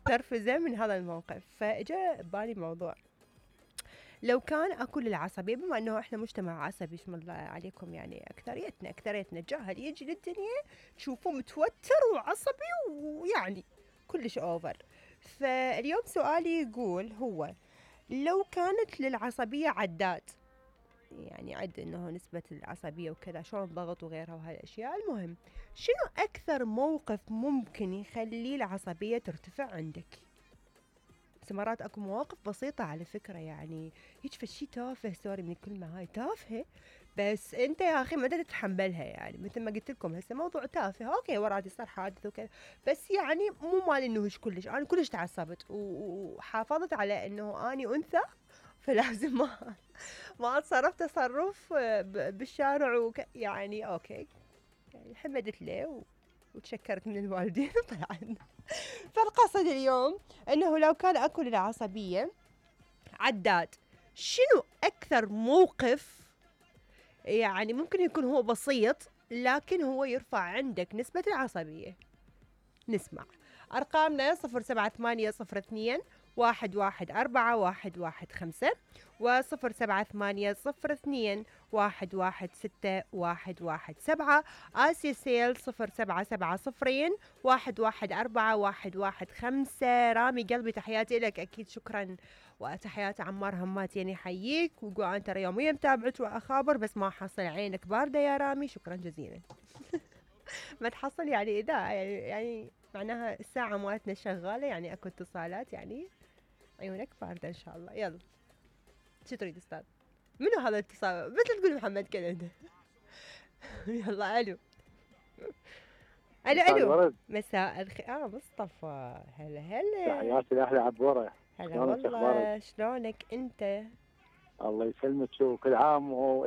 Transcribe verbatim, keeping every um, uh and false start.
متنرفزة من هذا الموقف. فاجا ببالي موضوع، لو كان اكو للعصبية، بما انه احنا مجتمع عصبي اسم الله عليكم، يعني اكثريتنا اكثريتنا الجاهل يجي للدنيا تشوفه متوتر وعصبي ويعني كلش اوفر. فاليوم سؤالي يقول هو، لو كانت للعصبية عداد، يعني عد انه نسبة العصبية وكذا شلون ضغط وغيرها وهالاشياء، المهم شنو اكثر موقف ممكن يخلي العصبية ترتفع عندك؟ مرات اكو مواقف بسيطة على فكرة، يعني هيك فشي تافه، سوري من الكلمة هاي تافهة، بس انت يا اخي ما تتحملها. يعني مثل ما قلت لكم هسه موضوع تافه، اوكي ورادي صار حادث وكذا، بس يعني مو مال انه هيك كلش، انا كلش تعصبت وحافظت على انه اني انثى، فلازم ما ما اتصرف تصرف بالشارع وك... يعني اوكي، يعني حمدت له وتشكرت من الوالدين وطلعنا. فالقصد اليوم انه لو كان اكو للعصبية عداد، شنو اكثر موقف يعني ممكن يكون هو بسيط لكن هو يرفع عندك نسبة العصبية؟ نسمع ارقامنا صفر سبعة ثمانية صفر اثنين واحد واحد أربعة واحد واحد خمسة وصفر سبعة ثمانية صفر اثنين واحد واحد ستة واحد واحد سبعة. آسيا سيل صفر سبعة سبعة صفرين واحد واحد أربعة واحد واحد خمسة. رامي قلبي تحياتي لك، أكيد شكرا، وتحياتي عمار همات يعني حييك، ويقول أنا ترى يوميا متابعك وأخابر بس ما حصل عينك باردة يا رامي، شكرا جزيلا. ما تحصل يعني إذا يعني, يعني معناها الساعة مالتنا شغالة، يعني أكو اتصالات، يعني عيونك باردة إن شاء الله. يلا شو تريد أستاذ؟ منو هذا الاتصال؟ مثل تقول محمد كندا. يلا ألو ألو ألو مساء الخير. آه مصطفى، هلا هلا، تحياتي لأهل عبورة. هلا والله، شلونك أنت؟ الله يسلمك وكل عام و